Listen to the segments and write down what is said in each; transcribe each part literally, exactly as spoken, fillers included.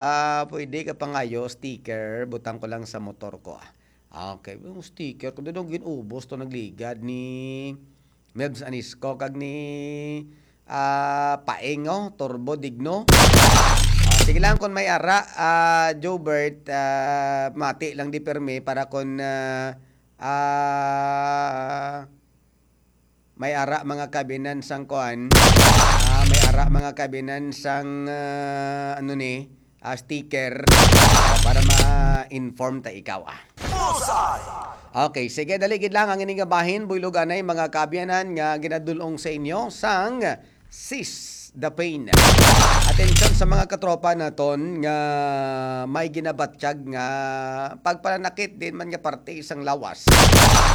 Ah, pwede ka pangayo sticker, butang ko lang sa motor ko, ah. Ah, okay, yung sticker ko, doon gin-ubos to, nagligad ni Mebs Anisco kag ni, ah, Paeng, oh, Turbo Digno. Ah, sige lang, kung may ara, ah, Jobert, ah, mati lang di permi para kung, ah, ah, may ara mga kabinan sang kuan, ah, may ara mga kabinan sang, ah, ano ni, ah, sticker, ah, para ma-inform ta ikaw, ah. Bullseye! Okay, sige, dali gid lang ang ini nga bahin, buylog anay, mga kaabyanan nga ginadul-ong sa inyo sang Seize the Pain. Atensyon sa mga katropa naton nga may ginabatyag nga pagpananakit din man nga parte sang lawas.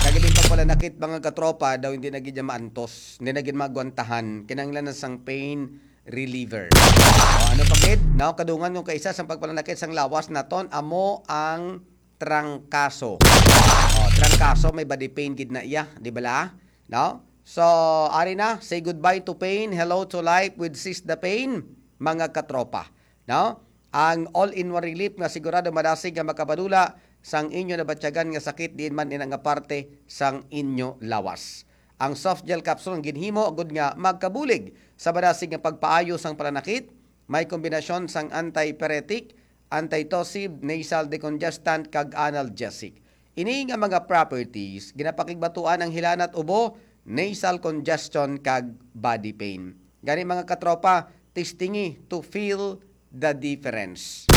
Kag din pagpananakit, mga katropa, daw hindi na gid niya maantos, hindi na gid magwantahan, kinahanglan na sang pain reliever. O, ano pa gid? Now, kadungan yung kaisa sang pagpananakit sang lawas naton, amo ang trangkaso. O, trangkaso, may body pain gid na iya, di bala? No? So, ari na, say goodbye to pain, hello to life with Seize the Pain, mga katropa. No? Ang all-in-one relief nga sigurado madasig nga makapadula sang inyo nabatyagan nga sakit diin man ina nga parte sang inyo lawas. Ang soft gel capsule ang ginhimo gud nga magkabulig sa madasig nga pagpaayo sang pananakit, may kombinasyon sang antipyretic, antitussive, nasal decongestant, kag analgesic. Ini nga mga properties ginapakigbatuan ang hilanat, ubo, nasal congestion, kag body pain. Gani, mga katropa, testingi to feel the difference.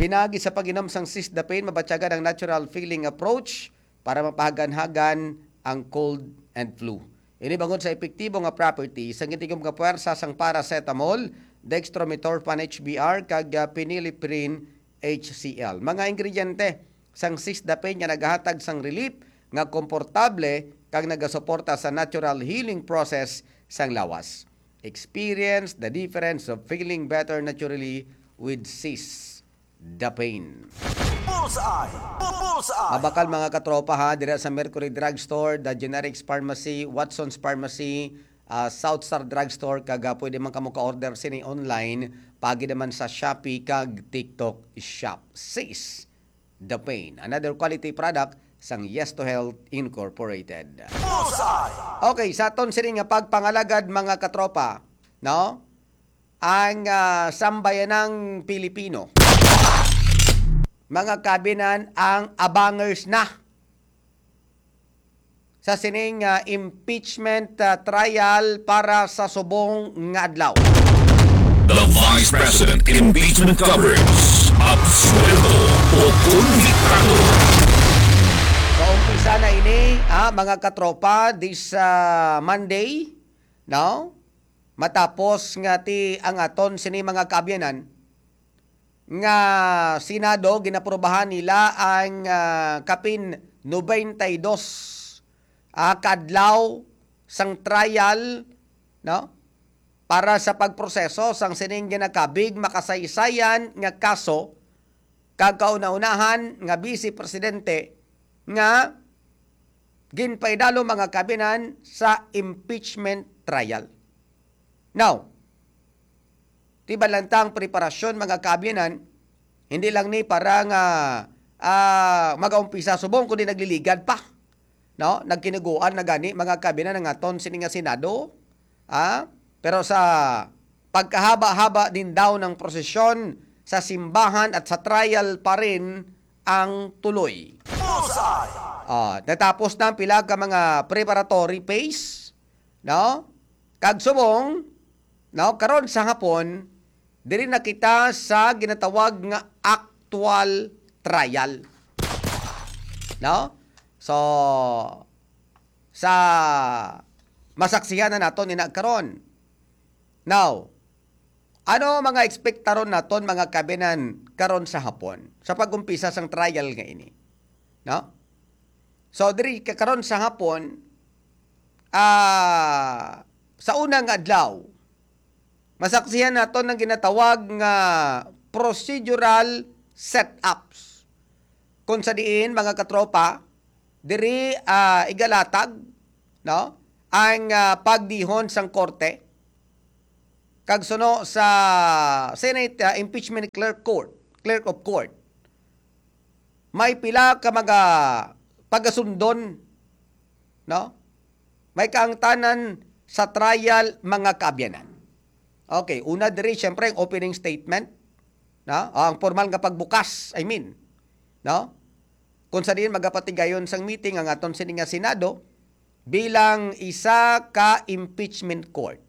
Pinagi sa pag-inom sang Seize the Pain, mabatyagan ang natural feeling approach para mapahagan-hagan ang cold and flu. Ini bangod sa epektibo nga property sang gitigom nga puwersa sang paracetamol, dextromethorphan H B R, kag, ah, phenylephrine H C L. Mga ingrediente sang Seize the Pain nga nagahatag sang relief nga komportable kag nagasuporta sa natural healing process sang lawas. Experience the difference of feeling better naturally with Seize the Pain. Bullseye! Bullseye! Mabakal, mga katropa, ha, dira sa Mercury Drugstore, The Generics Pharmacy, Watson's Pharmacy, ah, South Star Drugstore, kag, ah, pwede man kamo ka-order sini online, pagi naman sa Shopee kag TikTok Shop. Seize the Pain, another quality product sang Yes to Health Incorporated. Bullseye! Okay, sa aton sini nga pagpangalagad, mga katropa, no? Ang, ah, sambayanang Pilipino, mga kabinan, ang abangers na sa sining, ah, impeachment, ah, trial para sa subong nga adlaw. The Vice President Impeachment Coverage. Absuelto o konbiktado. Kaumpisa na ini, ah, mga katropa, this, ah, Monday, no? Matapos nga ti ang aton sini, mga kaabyanan, nga Senado, ginaprobahan nila ang, ah, kapin nobenta y dos, ah, ka adlaw sang trial, no? Para sa pagproseso sang sining ginakabig makasaysayan nga kaso kag kauna-unahan nga Vice Presidente nga ginpaidalo, mga kabinan, sa impeachment trial. Now, ti balantang preparasyon, mga kabinan, hindi lang ni para nga, ah, magaumpisa subong, kundi nagliligad pa, no? Nagkiniguan na gani, mga kabinan, ang aton sini nga Senado, ah? Pero sa pagkahaba-haba din daw ng prosesyon sa simbahan at sa trial pa rin ang tuloy. Bullseye! Ah, natapos na ang pila ka mga preparatory phase, no? Kag subong, no, karon sa hapon, diri na kita sa ginatawag nga actual trial. No? So, sa masaksihan na naton ina karon. Now, ano mga ekspektaron naton, mga kabinan, karon sa hapon sa pag-umpisa sang trial nga ini? No? So, diri ka karon sa hapon, ah, sa una nga adlaw, masaksihan naton ang ginatawag nga procedural setups. Kung sa diin, mga katropa, diri, ah, igalatag, no, ang, ah, pagdihon sang korte. kag suno sa Senate, ah, Impeachment Clerk Court, Clerk of Court, may pila ka mga pagasundon, no? May kaangtanan sa trial, mga kaabyanan. Okay, una diri, syempre, ang opening statement, no? O, ang formal nga pagbukas, I mean, no? Kung sa diin magapatigayon sang meeting ang aton sini nga Senado bilang isa ka impeachment court,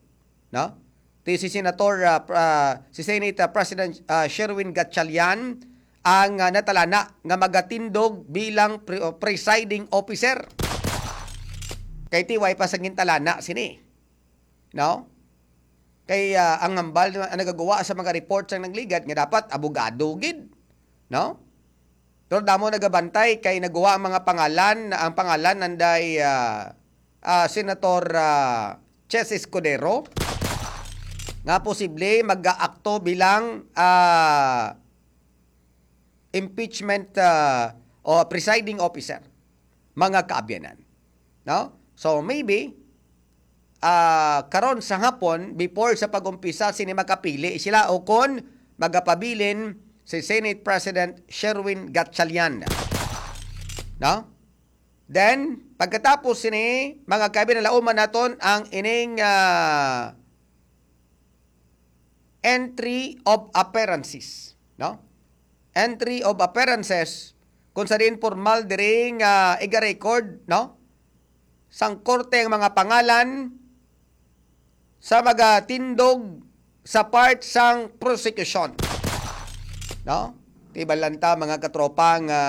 no? Ti si Senator, ah, pr-, ah, si Senate, ah, President, ah, Sherwin Gatchalian ang, ah, natalana nga magatindog bilang pre-, oh, presiding officer. Kay ti way pa sa gintalana sini, no? Kay, ah, ang hambal na nagagawa sa mga report sang nagligad nga dapat abogado gid, no? Pero damo nagabantay kay naguwa ang mga pangalan, ang pangalan nanday, ah, ah, Senator, ah, Chess Escudero nga posible mag-aakto bilang, ah, impeachment, ah, o presiding officer, mga kaabyanan. No? So maybe, ah, karon sa hapon, before sa pag-umpisa, sini makapili sila o kon magapabilin si Senate President Sherwin Gatchalian. No? Then, pagkatapos sini, mga kaabyanan, lauman naton ang ining, ah, entry of appearances, no? Entry of appearances, kung sa diin formal diri nga iga-record, no? Sang korte ang mga pangalan sa magatindog sa part sang prosecution, no? Ti bala ta, mga katropa, nga,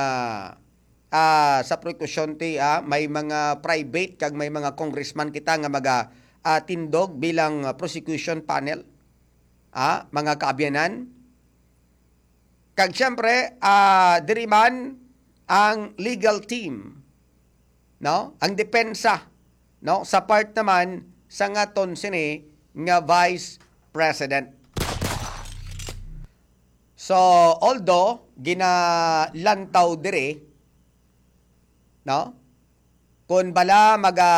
ah, sa prosecution ti, ah, may mga private kag may mga congressman kita nga maga, ah, tindog bilang, ah, prosecution panel, ah, mga kaabyanan. Kag siyempre, ah, diri man ang legal team, no? Ang depensa, no? Sa part naman sa ngaton sini nga Vice President. So, although ginalantaw diri, no? Kung bala maga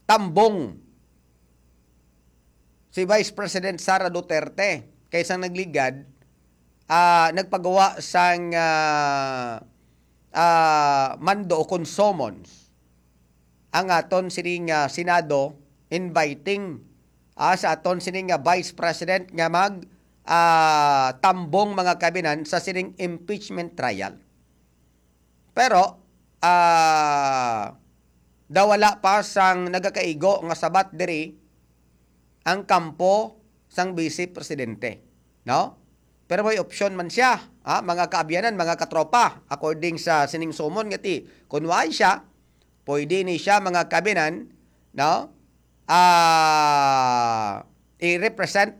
tambong si Vice President Sara Duterte kay sang nagligad, ah, nagpagawa sang, ah, ah, mando o kon summons ang aton sining, ah, Senado inviting, ah, sa aton sining, ah, Vice President nga mag, ah, tambong, mga kaabyanan, sa sining impeachment trial. Pero, ah, daw wala pa sang nagakaigo nga sabat diri ang kampo sang Vice Presidente, no? Pero may opsyon man siya, ha, mga kaabyanan, mga katropa, according sa sining summon nga ti, kun waay siya, pwede ni siya, mga kaabyanan, no? Ah, i-represent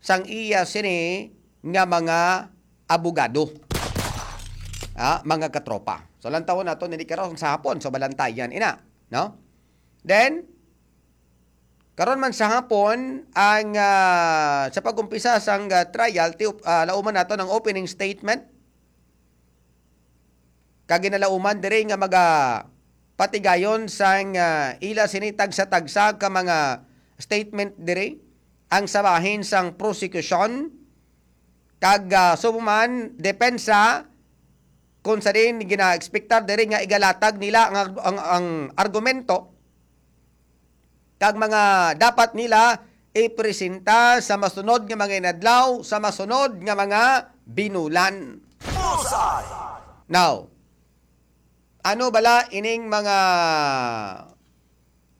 sang iya sini nga mga abogado. Ah, mga katropa. So, lantawon nato nini karon sa hapon. So, balantayan ina, no? Then, karon man sa hapon, ang, ah, sa pag-umpisa sang, ah, trial, ti-, ah, lauman nato ang opening statement. Kag ginalauman diri nga maga patigayon sang, ah, ila sini tagsa-tagsa ka mga statement diri ang sa bahin sang prosecution kag, ah, subong man depensa, kung sa diin gina-ekspektar diri nga igalatag nila ang, ang, ang argumento kag mga dapat nila ipresenta sa masunod nga mga inadlaw, sa masunod nga mga binulan. Bullseye! Now, ano bala ining mga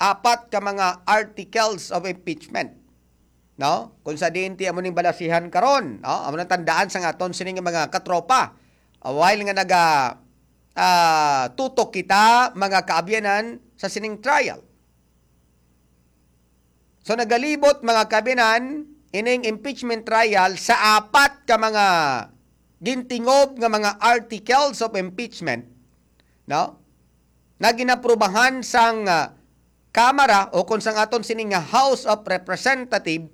apat ka mga articles of impeachment? No? Kung sa diin ti amo ning balasihan karon, no? Amo nang tandaan sa aton sining mga katropa. Ah, while nga naga, ah, tutok kita, mga kaabyanan, sa sining trial. So, nagalibot, mga kaabyanan, ining impeachment trial sa apat ka mga gintingob nga mga articles of impeachment, no? Na ginaprubahan sang, ah, Kamara o kung sang aton sini nga House of Representative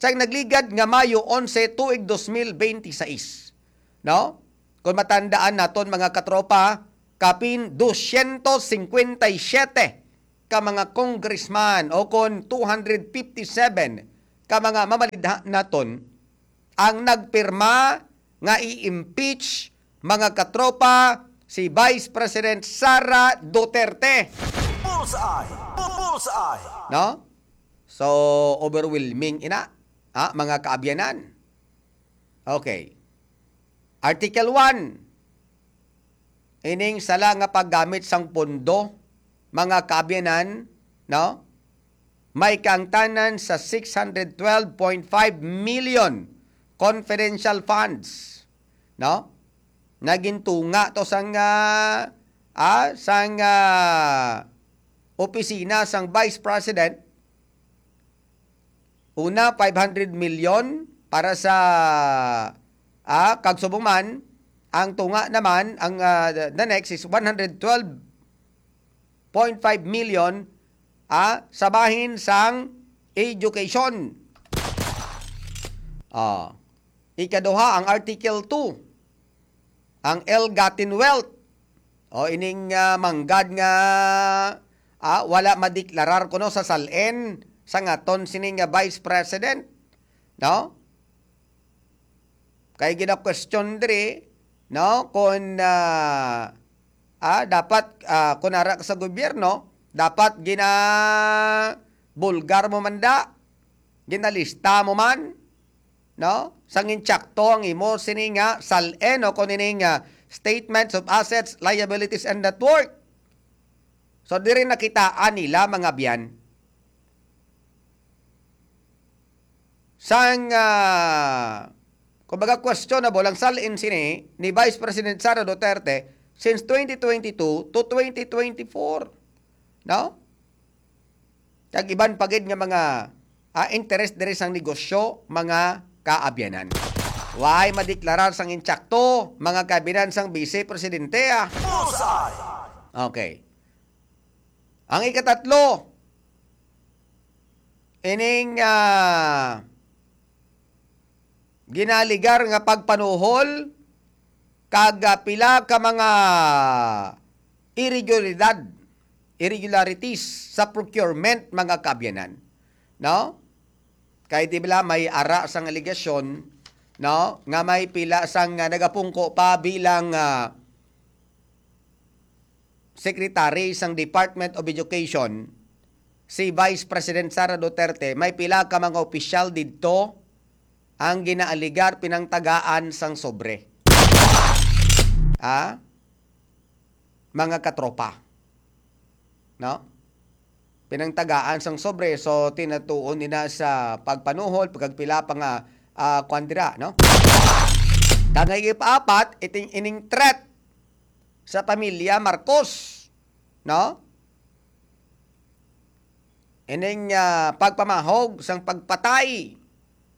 sa nagligad nga Mayo onse, tuig dos mil bente sais, no? Kung matandaan naton, mga katropa, kapin dosyentos singkwenta y siyete ka mga congressman o kon two hundred fifty-seven ka mga mamalidha naton ang nagpirma nga i-impeach, mga katropa, si Vice President Sara Duterte. Bullseye! Bu-, bullseye! No? So, overwhelming ina, ha, mga kaabyanan. Okay. Article one, ining sala nga paggamit sang pondo, mga kaabyanan, no? May kaangtanan sa six hundred twelve point five million confidential funds, no? Nagintunga to sang, ah, ah, sang, ah, opisina sang Vice President. Una, five hundred million para sa, ah, kag subong man, ang tunga naman, ang, ah, the, the next is one hundred twelve point five million, ah, sa bahin sang education. Ah, ikaduha, ang Article two, ang ill-gotten wealth. O ining, ah, manggad nga, ah, wala madeklarar kuno sa SALN sang aton sini nga Vice President, no? Kay gina-question diri, no, kung, ah, ah, dapat, ah, kung ara ka sa gobyerno, dapat ginabulgar mo man da, ginalista mo man, no? Sang insakto ang imo sini nga SALN o kung ini nga statements of assets, liabilities, and net worth. So, diri nakitaan nila, mga biyan, sang, ah, kumbaga, questionable ang SALN sini ni Vice President Sara Duterte since twenty twenty-two to twenty twenty-four. No? Kag iban pa gid nga mga, ah, interes diri sang negosyo, mga kaabyanan. Way madeklarar sang insakto, mga kaabyanan sang Vice Presidente, ah. Bullseye! Okay. Ang ikatatlo, ining, ah, ginaligar nga pagpanuhol kag, ah, pila ka mga irregularidad, irregularities sa procurement, mga kaabyanan, no? Kay di bala may ara sang alegasyon, no, nga may pila sang, ah, nagapungko pa bilang, ah, secretary sang Department of Education, si Vice President Sara Duterte, may pila ka mga opisyal didto ang ginaaligar pinangtagaan sang sobre. Ah? Mga katropa. No? Pinangtagaan sang sobre, so tinatuon nila sa pagpanuhol, pagkagpila pa nga, ah, kwan dira, no? Kag ang ipaapat, iting, ining threat sa pamilya Marcos, no? Ining, ah, pagpamahog sang pagpatay.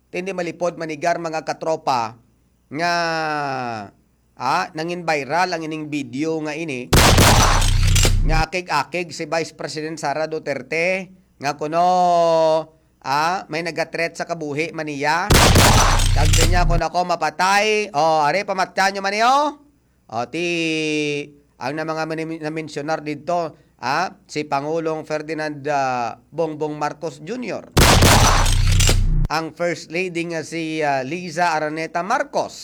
Tindi malipod manigar, mga katropa, nga, ah, nangin viral ang ining video nga ini, nga akig-akig si Vice President Sara Duterte, nga kuno, ah, may nagathreat sa kabuhi man niya. Kag siya, "Kung ako mapatay, oh, are, pamatyan nyo man niyo." O, ti, ang na mga mani-, na-mensionar didto, ah, si Pangulong Ferdinand, ah, Bongbong Marcos Junior, ang First Lady nga si, ah, Liza Araneta Marcos,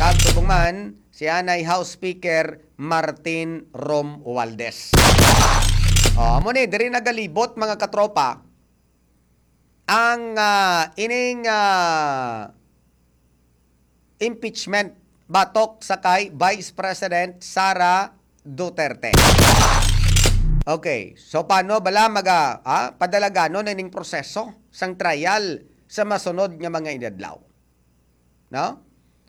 kag subong man si anay House Speaker Martin Romualdez. O, amo ni, diri nagalibot, mga katropa, ang, ah, ining, ah, impeachment batok sa kay Vice President Sara Duterte. Okay, so paano bala maga, ah, padalaganon na ining proseso sang trial sa masunod nga mga inadlaw? No?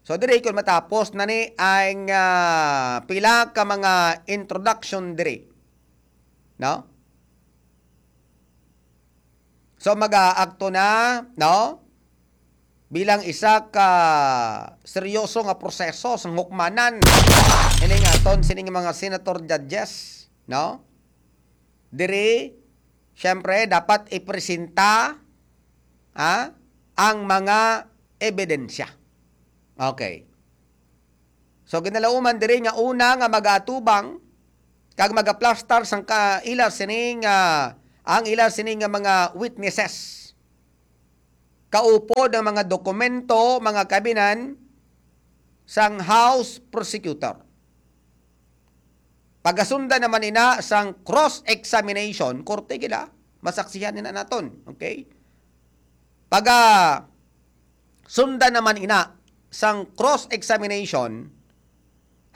So, diri, kung matapos na ni ang, ah, pila ka mga introduction diri, no? So, mag-aakto na, no? Bilang isa ka seryoso nga proseso sang hukmanan ining aton sining mga senator judges, no? Diri, syempre, dapat ipresenta, ha, ang mga ebidensya. Okay. So, ginalauman diri nga una nga mag-atubang kag magaplastar sang ka-, ila sini nga, ang ila sini nga mga witnesses. Kaupod ang mga dokumento, mga kabinan, sang House Prosecutor. Pagasundan naman ina sang cross-examination, korte gila, masaksihan nila naton. Okay? Paga sundan naman ina sang cross-examination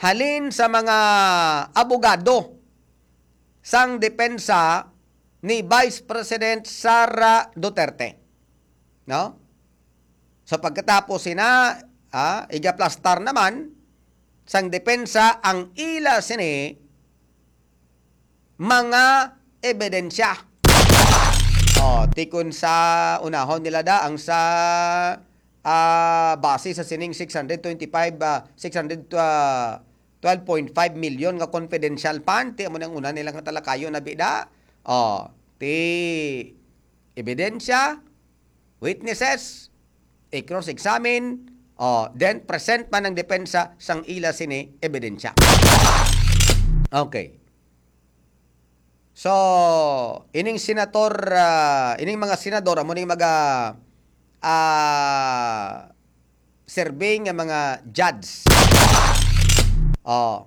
halin sa mga abogado sang depensa ni Vice President Sara Duterte. No? So, pagkatapos sina, ah, igaplastar naman sang depensa ang ila sini mga ebidensya. Oh, tikon sa unahon nila da ang sa, ah, base sa sining six hundred twenty-five, ah, six hundred, ah, twelve point five million nga confidential fund, ti amo nang una nila nga talakayon na bida. Oh, ti ebidensya, witnesses, i-cross-examine, oh, then present man ang depensa sang ila sini ebidensya. Okay. So, ining senator, ah, ining mga senador, amo ning maga, ah, serve nga mga judge. Oh.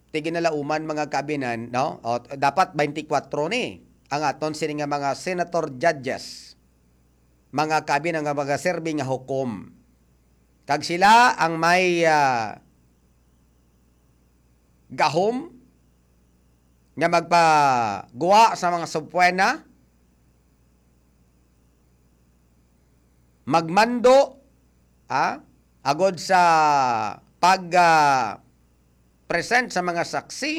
Ti ginalauman, mga kabinan, no? O, dapat twenty-four ni ang aton sini nga mga senator judges, mga kabinan, nga mga serve nga hukom. Kag sila ang may, ah, gahom nga magpagwa sa mga subpoena, magmando, ah, agod sa pag, ah, present sa mga saksi,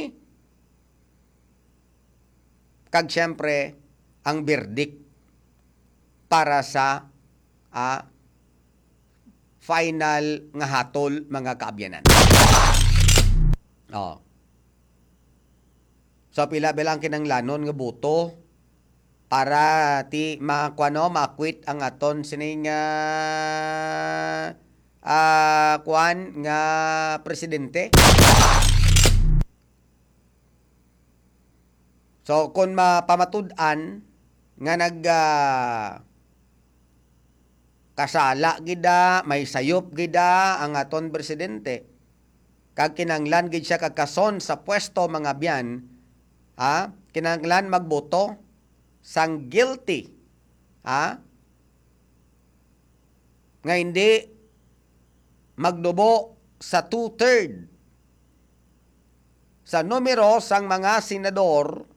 kag siyempre ang verdict para sa, ah, final nga hatol, mga kaabyanan. Oh. So, pila ba lang kinahanglanon nga boto para ti ma-, kuwan, no, ma-acquit ang aton sining, ah, ah, kuwan nga presidente? So, kung mapamatud-an nga nag, ah, kasala gid da, may sayop gid da ang aton presidente, kag kinahanglan gid siya kag kason sa pwesto, mga abyan, ha? Kinahanglan magboto sang guilty, ha? Nga hindi magdubo sa two-third sa numero sang mga senador,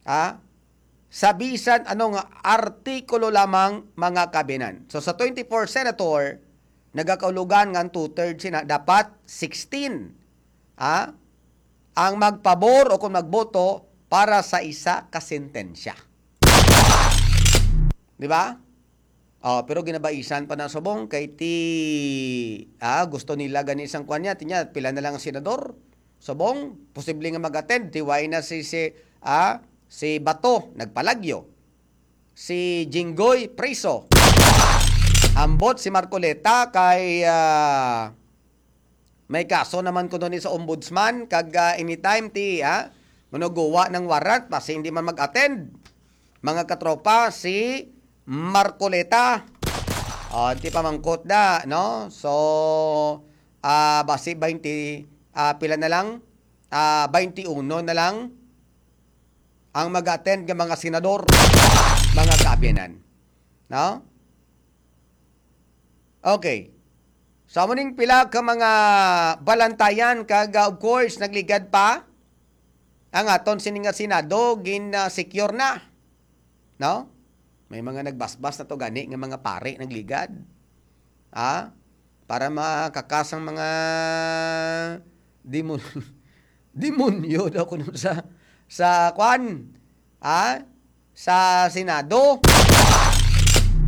ha, sa bisan ano nga artikulo lamang, mga kabinan. So, sa twenty-four senator, nagakaulogan nga ang two-thirds sina, dapat sixteen, ha, ang magpabor o kung magboto para sa isa ka sentensya. Di ba? Oh, pero ginabaisan pa na subong kay ti, ah, gusto nila gani sang kwan niya. Ti niya, pila na lang ang senador? Subong, posible nga mag-attend. Ti wala na si, si, ah, si Bato, nagpalagyo. Si Jinggoy, preso. Ambot si Marcoleta kay, ah, may kaso naman kuno ni sa ombudsman, kag, ah, anytime ti, ah, manuguwa ng warrant, basi hindi man mag-attend. Mga katropa, si Marcoleta. Oh, ti pamangkot da, no? So, ah, basi twenty, ah, pila na lang? Ah, twenty-one na lang ang mag-attend nga mga senador, mga kaabyanan. No? Okay. So, amo ning pila ka mga balantayan kag, ah, of course, nagligad pa ang aton sini nga Senado, gin, ah, secure na. No? May mga nagbasbas na to gani nga mga pari nagligad. Ha? Para makakasang mga demon-, demonyo daw kuno sa, sa kwan. Ha? Sa Senado.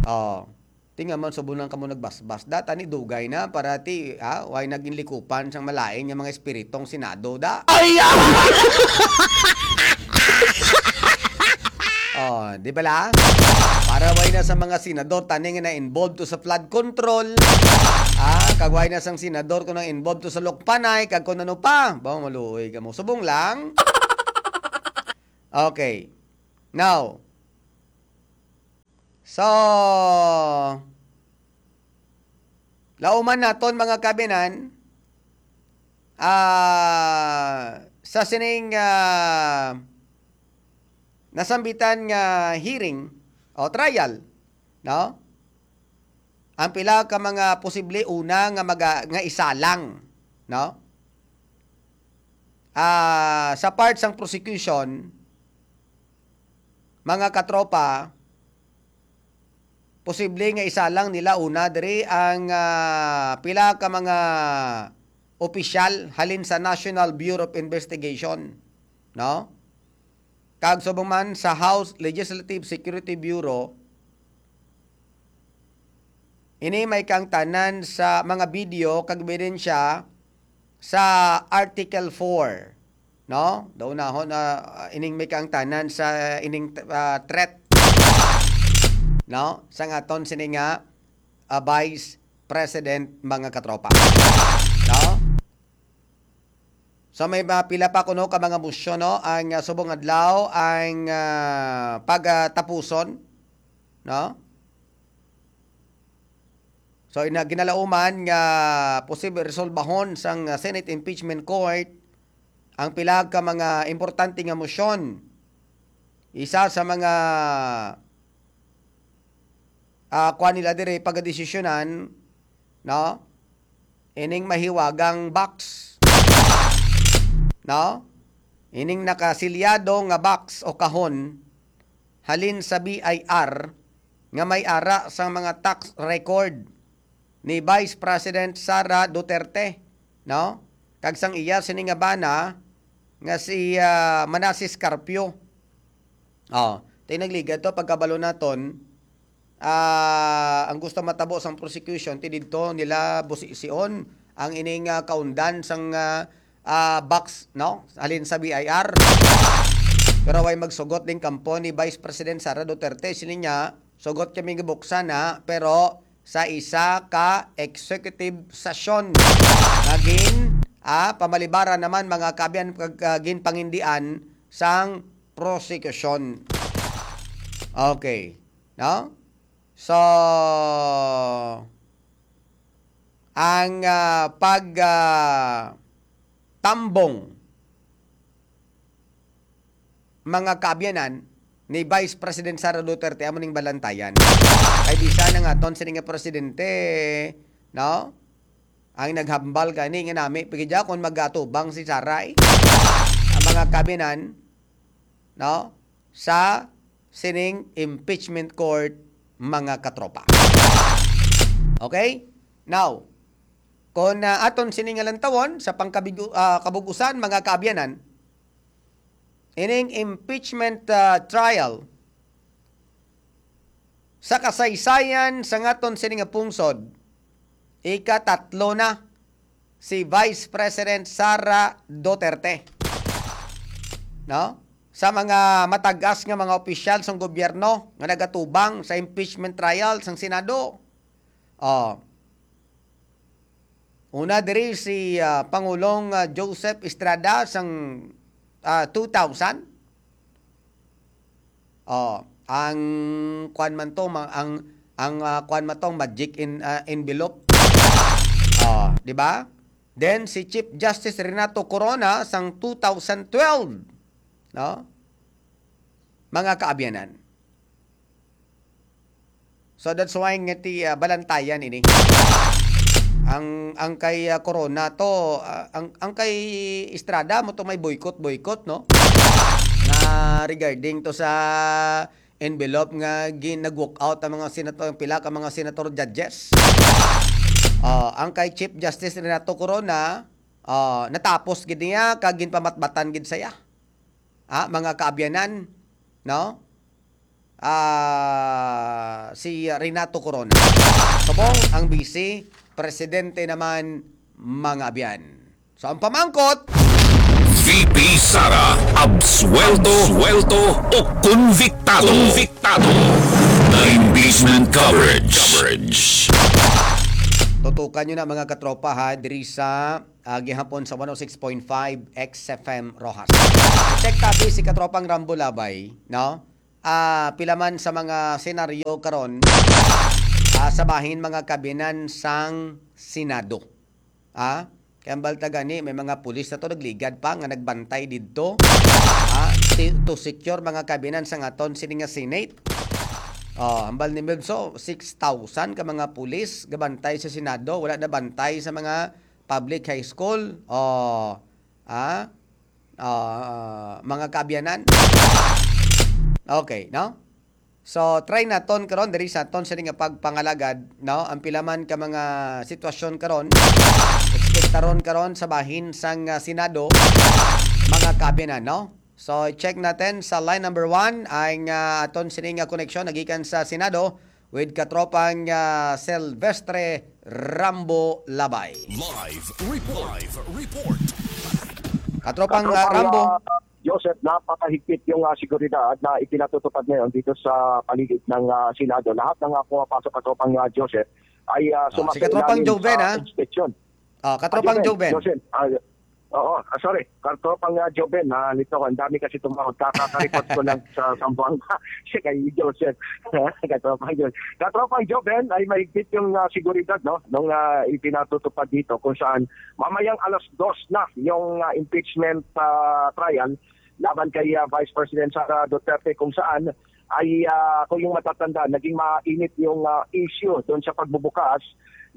Oh. Tinga man, subunan kamo nagbasbas. Da, tani dugay na para ti, ha? Way naging likupan sang malain nga mga espiritong Senado, da. Ay, ah! Oh, di bala? Para way na sa mga senador tani nga na-involved to sa flood control. Ah, kag way na sang senador ko na-involved to sa Lukpanay, kag kung ano pa. Bang maluoy ka mo. Subong lang. Okay. Now, so, lauman naton, mga kabinan, ah, sa sining, ah, nasambitan nga hearing o trial, no? Ang pila ka mga posible una nga maga-, nga isalang, no? Ah, sa part sang prosecution, mga katropa, posible nga isalang nila una diri ang, ah, pila ka mga opisyal halin sa National Bureau of Investigation, no? Kag subong man sa House Legislative Security Bureau, ini may kaangtanan sa mga video kag ebidensya sa Article four, no? Daw nahon na, ah, ining may kaangtanan sa ining, ah, threat, no? Sa ngaton sini nga, ah, Vice President, mga katropa. No? So may mga pila pa kuno ka mga motion, no? Ang, ah, subong adlaw ang, ah, pagatapuson, no? So, ina-, ginalauman nga posible resolbahon sang, ah, Senate Impeachment Court ang pila ka mga importante nga motion. Isa sa mga, ah, kuan nila diri pagadesisyonan, no? Ining mahiwagang box, no? Ining nakasilyado nga box o kahon halin sa B I R nga may ara sang mga tax record ni Vice President Sara Duterte, no? Kag sang iya sini nga bana nga si, ah, Manases Carpio. Oh, tay nagligad to pagkabalo naton, ah, ang gusto matabo sang prosecution ti didto nila busision ang ining, ah, kaundan sang, ah, ah, box, no? Halin sa B I R. Pero way magsugot ding kampo ni Vice President Sara Duterte. Sini niya, sugot kami nga buksan na, pero sa isa ka executive session nga gin, ah, pamalibara naman mga kaabyan kag, ah, ginpangindian sang prosecution. Okay, no? So, ang, ah, pag, ah, tambong mga kaabyanan ni Vice President Sara Duterte amo ning balantayan. Kay bisan ang aton sini nga presidente, no? Ang naghambal gani nga nami pa gid kon magatubang si Sara, eh. Ang mga kaabyanan, no? Sa sining impeachment court, mga katropa. Okay? Now, kung, ah, aton sini nga lantawon sa pangkabigu-, ah, kabug-usan, mga kaabyanan, ining impeachment, ah, trial sa kasaysayan sa ngaton sini nga pungsod, ikatatlo na si Vice President Sara Duterte, no? Sa mga matag-as nga mga opisyal sang gobyerno nga nagatubang sa impeachment trial sang Senado. Oh. Una diri si, ah, Pangulong, ah, Joseph Estrada sang, ah, two thousand. Oh, ang kuan man to, ma-, ang, ang, ah, kuan man to, magic in, ah, envelope. Oh, di ba? Then si Chief Justice Renato Corona sang two thousand twelve, no? Mga kaabyanan. So that's why nga ti, ah, balantayan ini. Ang, ang kay, ah, Corona to, ah, ang, ang kay Estrada mo to may boycott, boycott, no? Na regarding to sa envelope nga gin-, nag-walk out ang mga senator, ang pila ka mga senator judges. Ah, ang kay Chief Justice Renato Corona, ah, natapos gid niya kag ginpamatbatan gid saya. Ah, mga kaabyanan, no? Ah, si Renato Corona. Subong ang Vice Presidente naman, mga abyan. So, ang pamangkot, V V P Sara, absuelto, absuelto o konbiktado. Konbiktado. The impeachment coverage. Tutukan nyo na, mga katropa, ha, diri sa ah, gihapon sa one oh six point five X F M Roxas. Check tabi si katropang Rambo Labay, no? Ah, pila man sa mga senaryo karon, ah, sa bahin mga kabinan sang Senado. Ah, kay ang balta gani, may mga pulis na to nagligad pa nga nagbantay didto. Ah, si- to secure mga kabinan sang aton sini nga Senate. Oh, hambal ni Milso, six thousand ka mga pulis gabantay sa Senado, wala na bantay sa mga public high school. Oh, ah, ah, mga kaabyanan. Okay, no? So, try naton karon diri sa aton sini nga pagpangalagad, no? Ang pila man ka mga sitwasyon karon, ekspektaron karon sa bahin sang ah, Senado, mga kaabyanan, no? So, check natin sa line number one ang ah, aton sini nga koneksyon nagikan sa Senado with katropang ah, Silvestre Rambo Labay. Live report. Live report. Katropang ah, Rambo. Joseph, napakahigpit yung ah, seguridad na ipinatutupad ngayon dito sa paligid ng ah, Senado. Lahat ng ah, pumapasok, katropang ah, Joseph, ay ah, Ah, si sumasailalim katropang Joven, sa ha? Inspection. Ah, katropang Joven. Joseph, ah, oo, ah, sorry. Katropang ah, Joven, ah, nito, ang dami kasi tumawag. Kakakareport ko lang sa Zamboanga. Siya kay Joseph. Katropang Joven. Katropang Joven, ay mahigpit yung ah, seguridad, no? Nung ah, ipinatutupad dito kung saan mamayang alas dos na yung ah, impeachment ah, trial laban kay ah, Vice President Sara Duterte, kung saan ay ah, kung yung matatanda, naging mainit yung ah, issue doon sa pagbubukas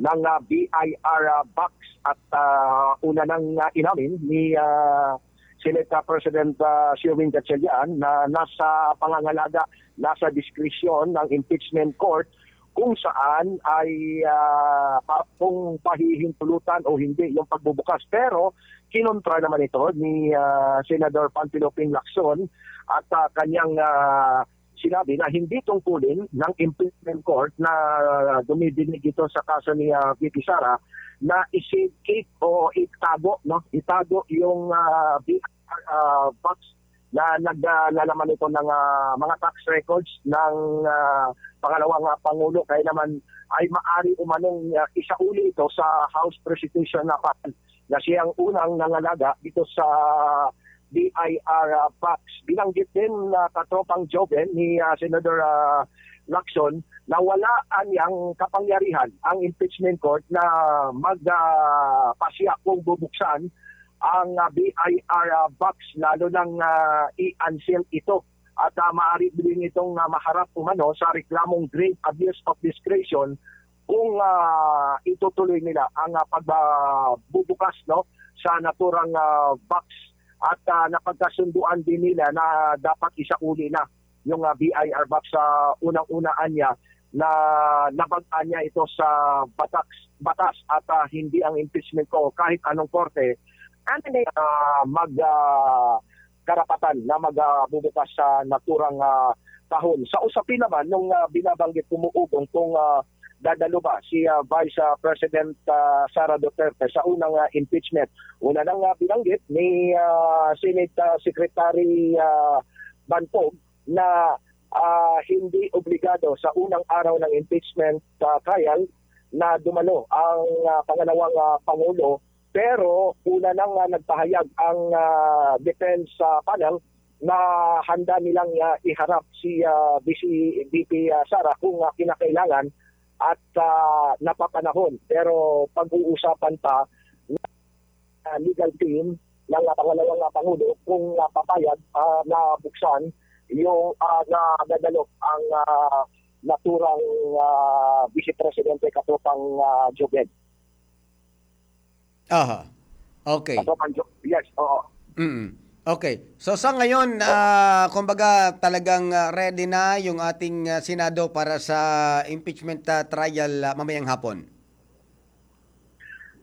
ng ah, B I R ah, box at ah, una nang ah, inamin ni ah, Senate ah, President ah, Sherwin Gatchalian na nasa pangangalaga, nasa diskresyon ng impeachment court kung saan ay ah, pa, kung pahihintulutan o hindi yung pagbubukas. Pero kinontra naman ito ni ah, Senador Panfilo Ping Lacson at ah, kanyang ah, sinabi na hindi tungkulin ng impeachment court na dumidinig ito sa kaso ni ah, V P Sara na isi-keep o itago, no? Itago yung ah, B I R ah, box na naglalaman ito ng ah, mga tax records ng ah, pangalawang ah, pangulo, kaya naman ay maari umanong ah, isauli ito sa House Presidential na file na siyang unang nangalaga dito sa B I R ah, box. Binanggit din na katropang Joven ni ah, Senador ah, Lacson na wala anyang kapangyarihan ang impeachment court na magpasya kung bubuksan ang ah, B I R ah, box, lalo nang ah, i-unseal ito. At ah, maaari din itong ah, maharap umano sa reklamong grave abuse of discretion kung ah, itutuloy nila ang ah, pagbubukas, no, sa naturang ah, box. At ah, napagkasunduan din nila na dapat isauli na yung ah, B I R box sa unang-una anya na nabag-an niya ito sa batas, batas at ah, hindi ang impeachment ko kahit anong korte ano na ah, mag ah, karapatan na magbubukas sa naturang ah, kahon. Sa usapin naman nung ah, binabanggit kumuugong kung ah, dadalo ba si ah, Vice ah, President ah, Sara Duterte sa unang ah, impeachment. Una nang ah, binanggit ni ah, Senate ah, Secretary ah, Bantog na ah, hindi obligado sa unang araw ng impeachment ah, trial na dumalo ang ah, pangalawang ah, pangulo, pero una nang ah, nagpahayag ang ah, defense ah, panel na handa nilang ah, iharap si ah, V C, V P ah, Sara kung ah, kinakailangan at ah, napapanahon. Pero pag-uusapan pa ng ah, legal team ng ah, pangalawang ah, pangulo kung ah, papayag ah, na buksan yung ah, na dadalo ang ah, naturang ah, Vice Presidente, katropang ah, Joven. Aha. Okay. Katropang Jo- yes, oo. Mm. Okay. So sa ngayon, ah, kumbaga talagang ah, ready na yung ating ah, Senado para sa impeachment ah, trial ah, mamayang hapon.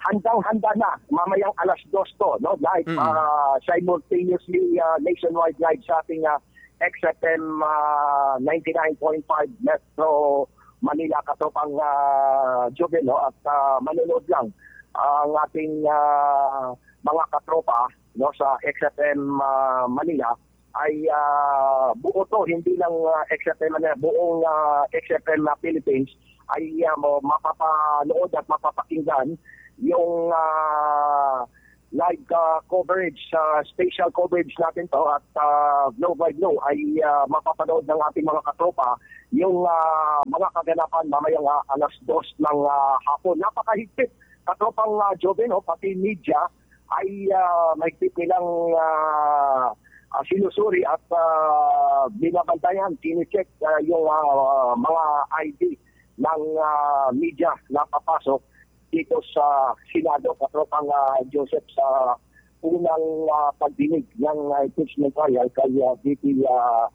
Handang-handa na mamayang alas dos to, no? Live, Mm. ah, simultaneously ah, nationwide live sa ating ah, X F M ah, ninety-nine point five Metro Manila, katropang ah, Joven, no? At ah, manonood lang ang ating ah, mga katropa, no, sa X F M, ah, Manila ay, ah, buo to, hindi lang, ah, X F M Manila, buong, ah, X F M na Philippines ay, ah, mo-, mapapanood at mapapakinggan yung, ah, live, ah, coverage, ah, special coverage natin to at, ah, Globe by Globe ay, ah, mapapanood ng ating mga katropa yung, ah, mga kaganapan mamayang, ah, alas dos ng, ah, hapon. Napakahigpit, katropang, ah, Joven, oh, pati media ay, ah, mahigpit nilang, ah, ah, sinusuri at, ah, binabantayan, kine-check, ah, yung, ah, mga I D ng, ah, media na papasok dito sa Senado, katropang, ah, Joseph, sa unang, ah, pagdinig ng, ah, impeachment trial kay, ah, V P, ah,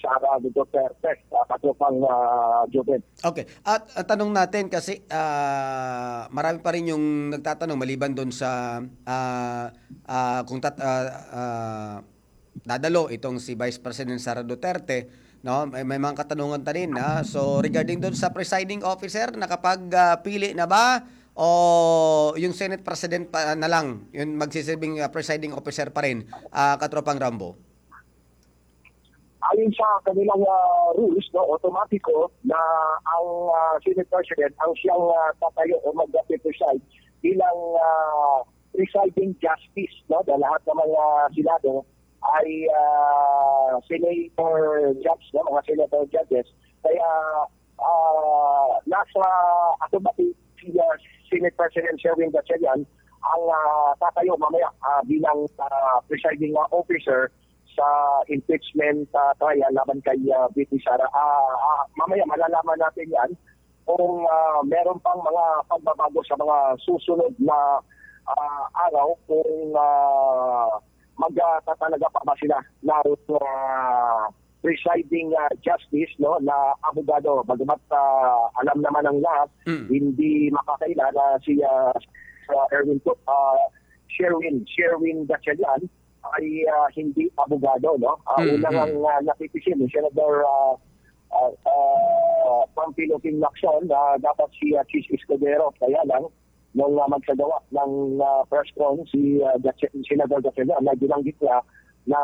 Sara Duterte, ah, katropang, ah, Joven. Okay. At, at tanong natin kasi, ah, marami pa rin yung nagtatanong maliban doon sa, ah, ah, kung tat-, ah, ah, dadalo itong si Vice President Sara Duterte, no? May, may mga katanungan ta rin, ah. So, regarding doon sa presiding officer, nakapag, ah, pili na ba? O yung Senate President pa na lang, yung magsisilbing, ah, presiding officer pa rin, ah, katropang Rambo? Ayon sa kanilang, ah, rules, no, automatiko na ang, ah, Senate President ang siyang, ah, tatayo o mag-preside bilang, ah, presiding justice, no, dahil lahat ng mga Senado ay, ah, senator judge, no, mga senator judges. Kaya, ah, nasa automatic si, ah, Senate President Sherwin Gatchalian ang, ah, tatayo mamaya, ah, bilang, ah, presiding, ah, officer sa impeachment, ah, trial laban kay, ah, V P Sara. Ah, ah, mamaya malalaman natin yan kung, ah, meron pang mga pagbabago sa mga susunod na, ah, araw kung, ah, magtatalaga pa ba sila ng, ah, presiding, ah, justice, no, na abogado. Bagamat, ah, alam naman ng lahat, Mm. hindi makakaila na si, ah, si Erwin Cook, ah, Sherwin, Sherwin Gatchalian ay, ah, hindi abogado, no? Ah, Mm, una mm. ngang, ah, napitisin ni Senador, ah, ah, ah, Panfilo King Lacson na dapat si, ah, Chiz Escudero. Kaya lang, nung, ah, magsagawa ng, ah, press con si, ah, Gatche-, Senador Gatchalian, na binanggit niya na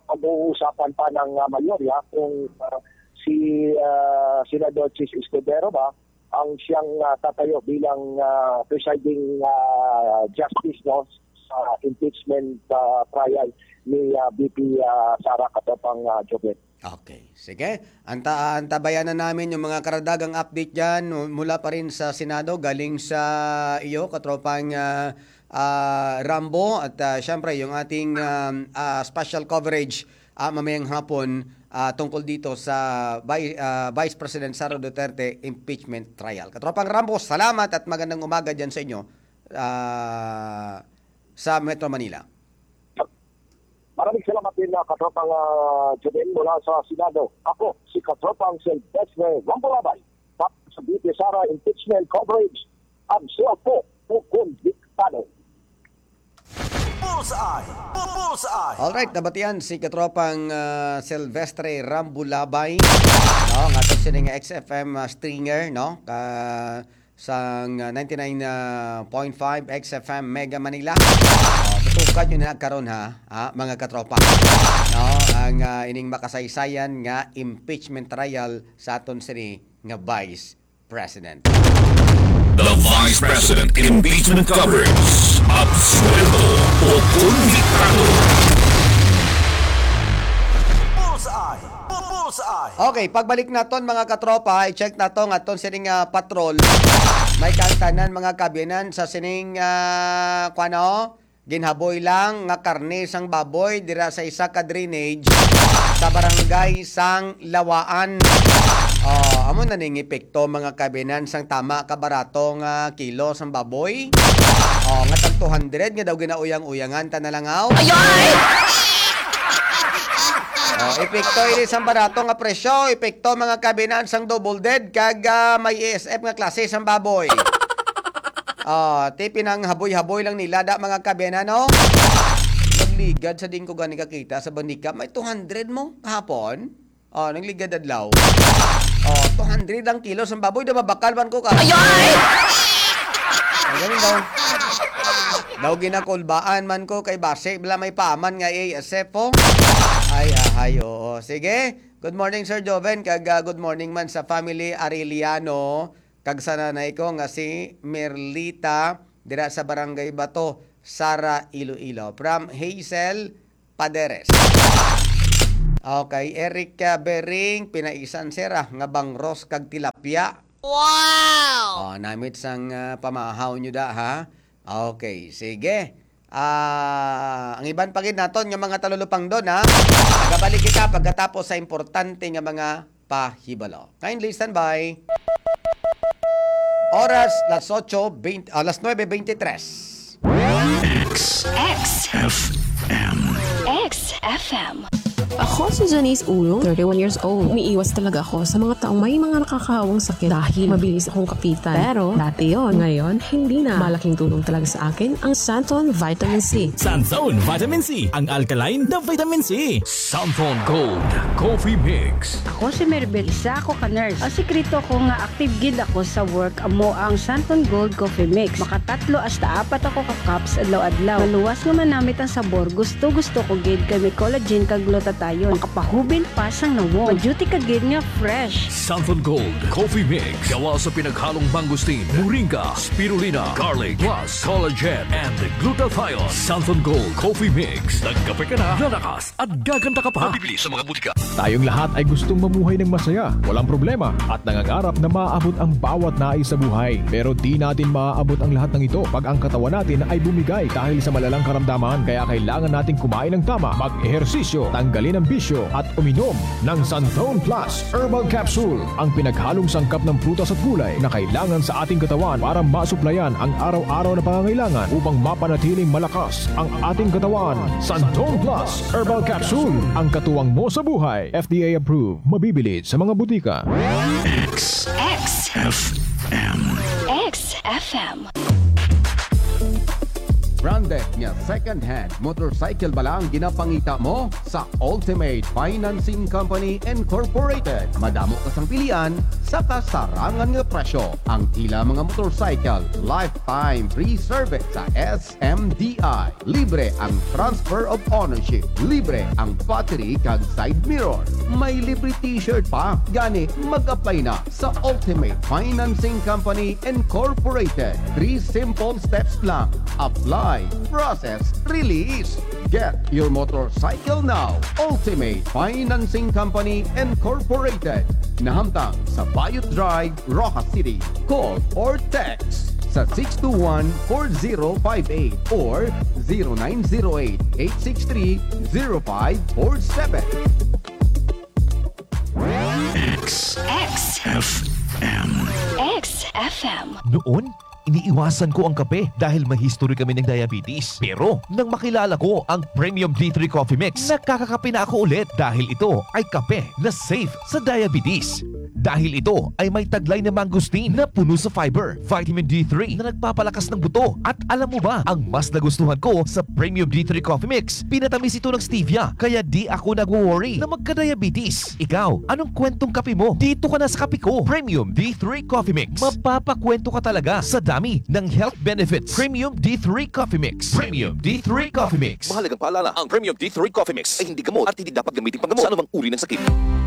pag-uusapan pa ng, ah, mayorya kung, ah, si, ah, Senador Chiz Escudero ba ang siyang, ah, tatayo bilang, ah, presiding, ah, justice, no, sa impeachment, ah, trial ni, ah, V P, ah, Sara, katropang, ah, Joven. Okay. Sige. Anta-, antabayanan namin yung mga karagdagang update dyan mu-, mula pa rin sa Senado, galing sa iyo, katropang, ah, ah, Rambo, at, ah, syempre, yung ating, um, ah, special coverage, ah, mamayang hapon, ah, tungkol dito sa Vi-, ah, Vice President Sara Duterte impeachment trial. Katropang Rambo, salamat at magandang umaga dyan sa inyo, ah, sa Metro Manila. Maraming salamat din, ah, katropang, ah, Joven mula sa Senado. Ako, si katropang Silvestre Rambo Labay, para sa V P Sara impeachment coverage. Absuelto o konbiktado. Bullseye! Bu-, Bullseye! Alright, nabatian si katropang, ah, Silvestre Rambo Labay, no? Nga to sini nga X F M, ah, stringer, no? Ka-, sang, ah, ninety-nine point five X F M Mega Manila. Oh, tutukan nyo na karon, ha, ha, mga katropa. No? Ang, ah, ining makasaysayan nga impeachment trial sa aton sini nga Vice President. The Vice President Impeachment Coverage. Absuelto o konbiktado. Bullseye! Bu-, Bullseye! Okay, pagbalik naton, mga katropa, i-check nato nga aton sining, ah, patrol. May kaangtanan, mga kaabyanan, sa sining, ah, kuwan, oh, ginhaboy lang nga karne sang baboy dira sa isa ka drainage sa barangay sang Lawaan. Oh, amo na ning epekto, mga kaabyanan, sang tama ka barato nga kilo sang baboy. Oh, nga tag two hundred nga daw ginauyang-uyangan ta na lang, aw. Ayoy! Oh, epekto ini sang barato nga presyo, epekto, mga kaabyanan, sang double dead kag, ah, may E S F nga klase sang baboy. Ah, ti pinanghaboy-haboy lang nila da, mga kaabyanan, no? Nagligad sa diin ko gani kakita sa bandika. May two hundred mo kahapon? Oh, nagligad adlaw. Oh, two hundred ang kilo sang baboy, da mabakal man ko ka. Ayoy! Ang galing daw. Daw ginakulbaan man ko kay basi bala may paman nga A S F, oh. Ay, ahay, oo. Sige. Good morning, Sir Joven, kag, ah, good morning man sa family Arellano, kag sa nanay ko nga si Merlita, dira sa Barangay Bato, Sara, Iloilo. From Hazel Paderes. Okay, Eric, ah, Bering, pinaisan sira nga bangros kag tilapia. Wow! Oh, namit sang, ah, pamahaw nyo da, ha? Okay, sige. Ah, ang iban pa gid naton nga mga talulupangdon, ha? Magabalik kita pagkatapos sa importante nga mga pahibalo. Kindly stand by. Oras, las ocho veinte, ah, las nuebe veintitrés. X X F M. X F M. Ako si Janice Ulong, thirty-one years old. Umiiwas talaga ako sa mga taong may mga nakakahawang sakit dahil mabilis akong kapitan. Pero dati yon, ngayon hindi na. Malaking tulong talaga sa akin ang Santon Vitamin C. Santon Vitamin C, ang alkaline na vitamin C. Santon Gold Coffee Mix. Ako si Maribel, isa ako ka nurse. Ang sikreto ko nga active gid ako sa work amo ang Santon Gold Coffee Mix. Makatatlo hasta apat ako ka cups adlaw-adlaw. Maluwas nga manamit ang sabor. Gusto, gusto ko gid kay may collagen kag glutathione. Makapahubil pa sang nawong. Ma-duty ka gid nga fresh. Santon Gold Coffee Mix. Gawa sa pinaghalong mangosteen, moringa, spirulina, garlic, plus collagen and glutathione. Santon Gold Coffee Mix. Nagkape ka na, lalakas at gaganda ka pa. Mabibili sa mga butika. Tayong lahat ay gustong mamuhay ng masaya, walang problema, at nangangarap na maabot ang bawat nais sa buhay. Pero di natin maaabot ang lahat ng ito pag ang katawan natin ay bumigay dahil sa malalang karamdaman. Kaya kailangan nating kumain ng tama, mag-ehersisyo, tanggalin ang bisyo, at uminom ng Santon Plus Herbal Capsule, ang pinaghalong sangkap ng prutas at gulay na kailangan sa ating katawan para masuplayan ang araw-araw na pangangailangan upang mapanatiling malakas ang ating katawan. Santon Plus Herbal Capsule, ang katuwang mo sa buhay. F D A approved. Mabibili sa mga butika. X X F M. X F M. Branded nga second-hand motorcycle bala ang ginapangita mo? Sa Ultimate Financing Company Incorporated, madamo ka sang pilian sa kasarangan nga presyo. Ang ila mga motorcycle, lifetime free service sa S M D I. Libre ang transfer of ownership. Libre ang battery kag side mirror. May libre t-shirt pa. Gani, mag-apply na sa Ultimate Financing Company Incorporated. Three simple steps lang. Apply, process, release. Get your motorcycle now. Ultimate Financing Company Incorporated. Nahamtang sa Bayot Drive, Roxas City. Call or text sa six two one, four zero five eight or zero nine zero eight, eight six three, zero five four seven. X X F M. X F M. Noon, iniiwasan ko ang kape dahil may history kami ng diabetes. Pero nang makilala ko ang Premium D three Coffee Mix, nakakakape na ako ulit dahil ito ay kape na safe sa diabetes. Dahil ito ay may taglay na mangosteen na puno sa fiber, vitamin D three na nagpapalakas ng buto. At alam mo ba, ang mas nagustuhan ko sa Premium D three Coffee Mix, pinatamis ito ng stevia, kaya di ako nagwo-worry na magka-diabetes. Ikaw, anong kwentong kape mo? Dito ka na sa kape ko, Premium D three Coffee Mix. Mapapakwento ka talaga sa dami ng health benefits. Premium D three Coffee Mix. Premium D three Coffee Mix. Mahalagang paalala, ang Premium D three Coffee Mix ay hindi gamot at hindi dapat gamitin panggamot sa anumang uri ng sakit.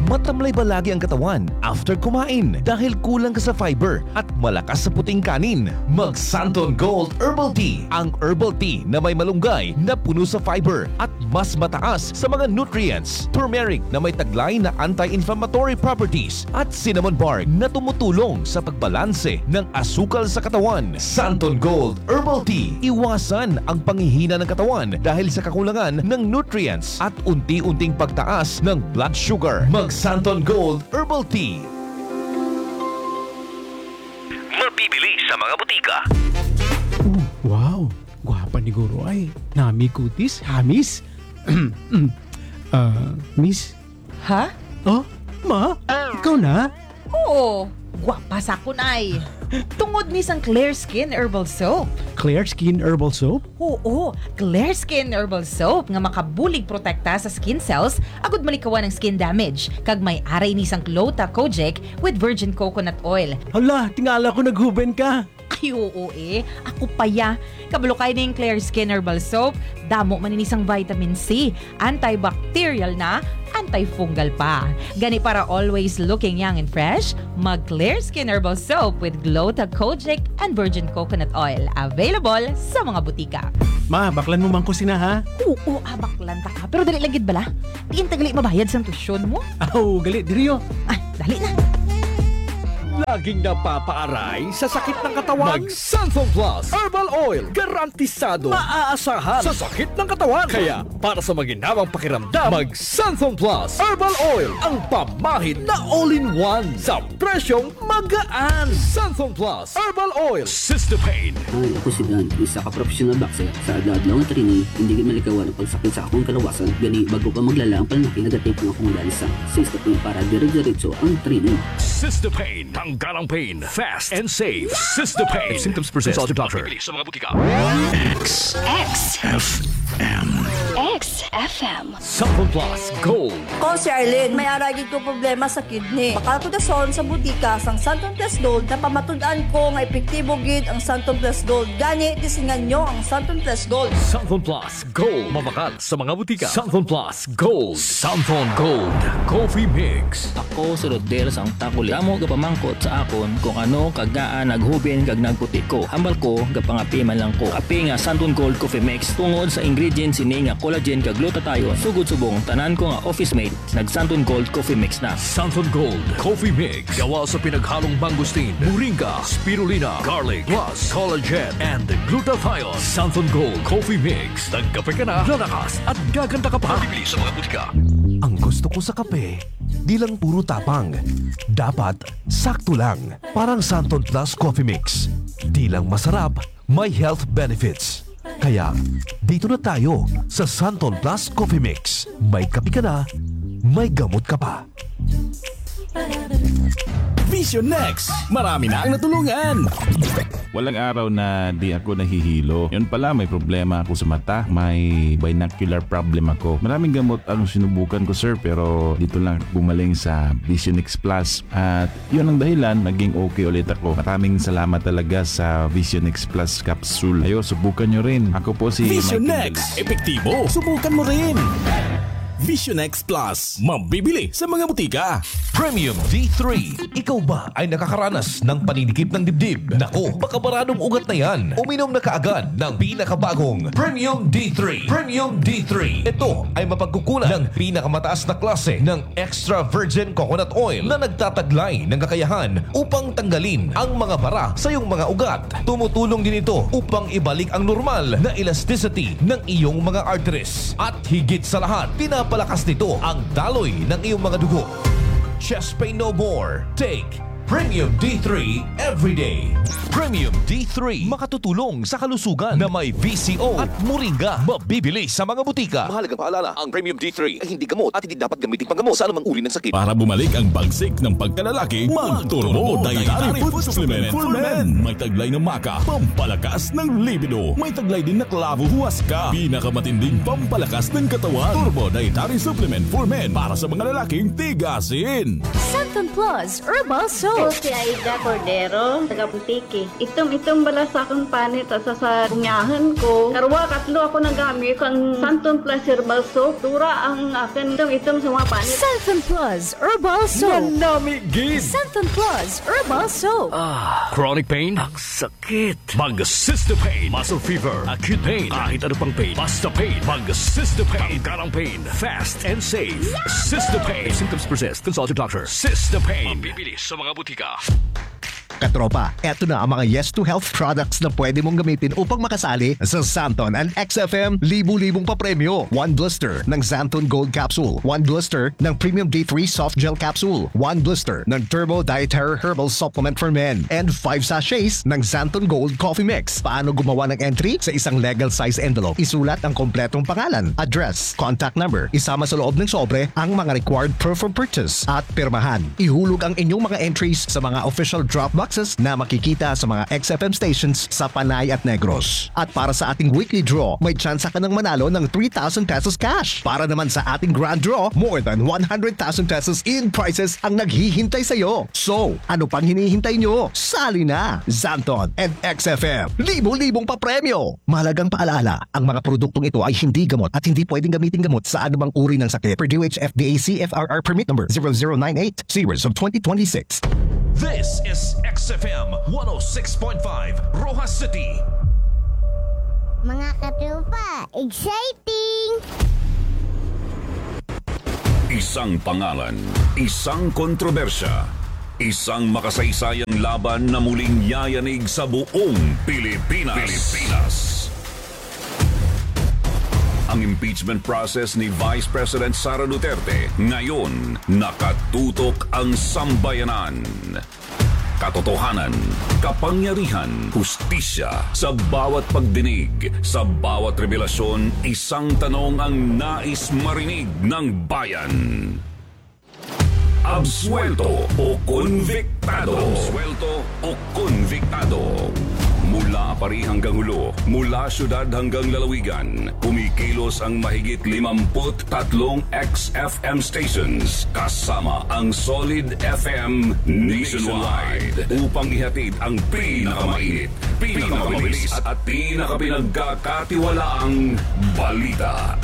Matamlay ba lagi ang katawan after kumain dahil kulang ka sa fiber at malakas sa puting kanin? Mag Santon Gold Herbal Tea, ang herbal tea na may malunggay na puno sa fiber at mas mataas sa mga nutrients, turmeric na may taglay na anti-inflammatory properties, at cinnamon bark na tumutulong sa pagbalanse ng asukal sa katawan. Santon Gold Herbal Tea. Iwasan ang panghihina ng katawan dahil sa kakulangan ng nutrients at unti-unting pagtaas ng blood sugar. Mag Santon Gold Herbal Tea. Mabibili sa mga butika. Oh, wow! Gwapa ni Guro ay. Nami kutis, hamis. Ah, miss? Ha? Oh, ma? Ikaw na? Oo, gwapa sa akon ay. Tungod ni sang Clear Skin Herbal Soap. Clear Skin Herbal Soap? Oo, Clear Skin Herbal Soap nga makabulig protekta sa skin cells agud malikawan ang skin damage. Kag may aray ni sang Clota Kojic with virgin coconut oil. Hala, tingala ko naghuben ka. Ay, oo eh. Ako pa ya. Kabalo kay ning Clear Skin Herbal Soap. Damo man ini sang vitamin C. Antibacterial na, antifungal pa. Gani, para always looking young and fresh, mag Clear Skin Herbal Soap with Glow Kojic and Virgin Coconut Oil. Available sa mga butika. Ma, baklan mo man ko sina, ha? Oo, ah, baklan ta ka. Pero dali lang gid bala. Diin ta gali mabayad sang tuition mo? Aw, gali, diri, oh. Ay, dali na. Laging napapaaray sa sakit ng katawan? Mag Santhon Plus Herbal Oil. Garantisado, maaasahan sa sakit ng katawan. Kaya, para sa maginhawang pakiramdam, mag Santhon Plus Herbal Oil. Ang pamahid na all-in-one sa presyong magaan. Santhon Plus Herbal Oil. Sister Pain. Hi, ako si Dan, isa ka professional boxer. Sa adlaw-adlaw nga training, hindi gid malikawan ang pagsakit sa akong kalawasan. Gani, bago pa maglala ang pananakit, nag-take ang akong Dansa Sister Pain para dire-diretso ang training. Sister Pain. Tanggal ang pain. Fast and safe. Sister Pain. If symptoms persist, consult your doctor. Bibili sa mga butika. X. X. F M. X F M. Santhon Plus Gold. Ko si Arlene, may ara gid ko problema sa kidney. Bakal ko dason sa butika sang Santon Plus Gold, napamatud-an ko nga epektibo gid ang Santon Plus Gold. Gani, tisingan nyo ang Santon Plus Gold. Santhon Plus Gold. Mabakal sa mga butika. Santhon Plus Gold. Santhon Gold Coffee Mix. Ako si Rodel sang Takuli. Damo gapamangkot sa akon kung ano kag ngaa naghubin kag nagputi ko. Hambal ko, gapangapi man lang ko. Kape nga Santon Gold Coffee Mix tungod sa ingredients ini nga collagen kag glutathione. Sugod subong, tanan ko nga office mate nag Santon Gold Coffee Mix na. Santon Gold Coffee Mix. Gawa sa pinaghalong mangosteen, moringa, spirulina, garlic, plus collagen and glutathione. Santon Gold Coffee Mix. Nagkape ka na, lalakas at gaganda ka pa. Mabibili sa mga butika. Ang gusto ko sa kape, di lang puro tapang. Dapat sakto lang. Parang Santon Plus Coffee Mix. Di lang masarap, may health benefits. Kaya, dito na tayo sa Santon Plus Coffee Mix. May kape ka na, may gamot ka pa. Vision Next, marami na ang natulungan. Walang araw na di ako nahihilo. Yun pala, may problema ako sa mata. May binocular problem ako. Maraming gamot ang sinubukan ko, sir, pero dito lang gumaling sa Vision X Plus. At yun ang dahilan, naging okay ulit ako. Maraming salamat talaga sa Vision X Plus capsule. Ayo, subukan nyo rin. Ako po si Vision Michael Next, Galis. Epektibo. Subukan mo rin. Vision X Plus, mabibili sa mga butika. Premium D three. Ikaw ba ay nakakaranas ng paninikip ng dibdib? Nako, makabaradong ugat na yan. Uminom na kaagad ng pinakabagong Premium D three. Premium D three. Ito ay mapagkukunan ng pinakamataas na klase ng extra virgin coconut oil na nagtataglay ng kakayahan upang tanggalin ang mga bara sa iyong mga ugat. Tumutulong din ito upang ibalik ang normal na elasticity ng iyong mga arteries. At higit sa lahat, pinapalakas nito ang daloy ng iyong mga dugo. Chest pain no more. Take Premium D three every day. Premium D three, makatutulong sa kalusugan na may V C O at moringa. Mabibili sa mga butika. Mahalagang paalala, ang Premium D three ay hindi gamot at hindi dapat gamitin panggamot sa anumang uri ng sakit. Para bumalik ang bagsik ng pagkalalaki, mag-Turbo Dietary Food Supplement for Men. May taglay na maca, pampalakas ng libido. May taglay din na clavo, huwaska. Pinakamatinding pampalakas ng katawan. Turbo Dietary Supplement for Men para sa mga lalaking tigasin. Santon Plus Herbal Soap. Ako si Aida Cordero, taga Antique. Itom-itom bala sa akong panit sa, sa, sa bunyahan ko. Karwa, katlo ako nagamit sang Santon Plus Herbal Soap. Dura ang akin itom-itom sa mga panit. Santon Plus Herbal Soap. Nanami gid. Santon Plus Herbal Soap. Ah, chronic pain? Ang sakit. Mag Sister Pain. Muscle fever, acute pain, kahit ano pang pain. Basta pain. Mag Sister Pain. Tanggal ang pain. Fast and safe. Sister Pain. If symptoms persist, consult your doctor. Sister Pain. Mabibili sa mga butika. Katropa, eto na ang mga Yes to Health products na pwede mong gamitin upang makasali sa Santon and X F M libu-libong papremyo. One blister ng Santon Gold Capsule, one blister ng Premium D three Soft Gel Capsule, one blister ng Turbo Dietary Herbal Supplement for Men, and five sachets ng Santon Gold Coffee Mix. Paano gumawa ng entry? Sa isang legal size envelope, isulat ang kompletong pangalan, address, contact number. Isama sa loob ng sobre ang mga required proof of purchase at pirmahan. Ihulog ang inyong mga entries sa mga official drop boxes na makikita sa mga X F M stations sa Panay at Negros. At para sa ating weekly draw, may tsansa ka nang manalo ng three thousand pesos cash. Para naman sa ating grand draw, more than one hundred thousand pesos in prizes ang naghihintay sa'yo. So, ano pang hinihintay nyo? Sali na! Xanthon and X F M, libo-libong papremyo! Mahalagang paalala, ang mga produktong ito ay hindi gamot at hindi pwedeng gamitin gamot sa anumang uri ng sakit, per D O H F D A C F R R permit number zero zero nine eight, series of twenty twenty-six. This is X F M one oh six point five, Roxas City. Mga katropa, exciting! Isang pangalan, isang kontrobersya, isang makasaysayang laban na muling yayanig sa buong Pilipinas. Pilipinas. Ang impeachment process ni Vice President Sara Duterte, ngayon nakatutok ang sambayanan. Katotohanan, kapangyarihan, hustisya. Sa bawat pagdinig, sa bawat revelasyon, isang tanong ang nais marinig ng bayan. Absuwelto o konbiktado? Absuwelto o konbiktado? Mula pari hanggang hulo, mula syudad hanggang lalawigan, kumikilos ang mahigit limampu't tatlong X F M stations, kasama ang Solid F M nationwide, upang ihatid ang pinakamainit, pinakamabilis, at pinakapinagkakatiwalaang balita.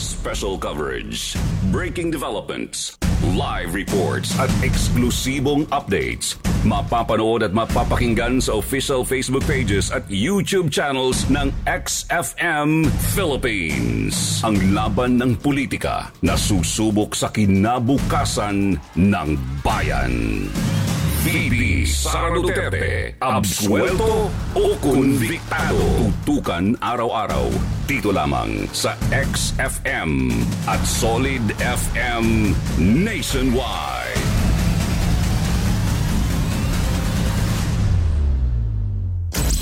Special coverage, breaking developments, live reports, at eksklusibong updates. Mapapanood at mapapakinggan sa official Facebook pages at YouTube channels ng X F M Philippines. Ang laban ng politika na susubok sa kinabukasan ng bayan. V P Sara Duterte, absuwelto o konbiktado? Tutukan araw-araw, dito lamang sa X F M at Solid F M nationwide.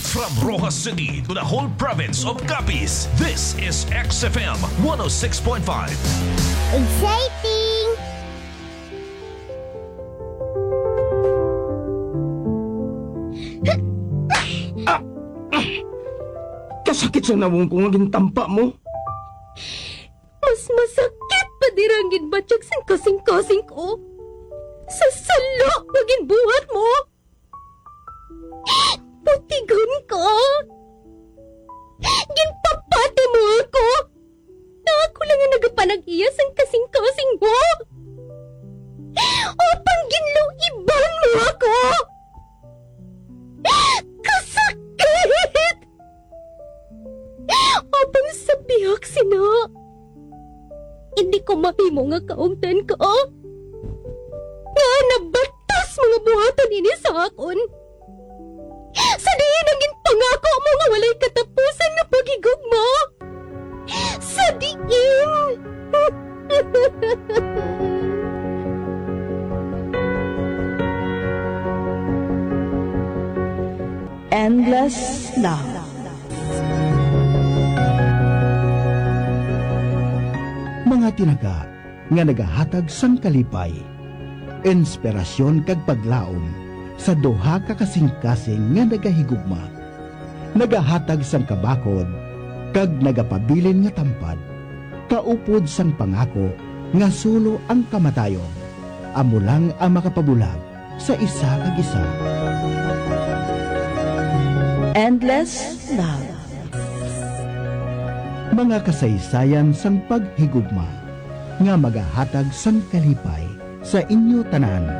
From Roxas City to the whole province of Capiz, this is X F M one oh six point five. Exciting! Ah! Ah! Kasakit sa nawong ko nga gintampa mo. Mas masakit pa dira ang ginbatyag sang kasingkasing ko sa sala nga ginbuhat mo. Putigon ko! Ginpapati mo ako! Nga ako lang ang nagapanag-iya sang kasingkasing mo! Apan ginluiban mo ako! Kasakit! Apan sa bihag sina, hindi ko mahimo nga kaungdan ka nga nabatas mga buhaton ini sa akon. Sa diin ang ginpangako mo nga walay katapusan nga paghigugma? Sa diin? Endless Love. Mga tinaga nga nagahatag sang kalipay, inspirasyon kag paglaom sa duha ka kasingkasing nga nagahigugma, nagahatag sang kabakod kag nagapabilin nga tampad, kaupod sang pangako nga sulo ang kamatayon, amo lang ang makapabulag sa isa kag isa. Endless Love. Mga kasaysayan sang paghigugma nga magahatag sang kalipay sa inyo tanan.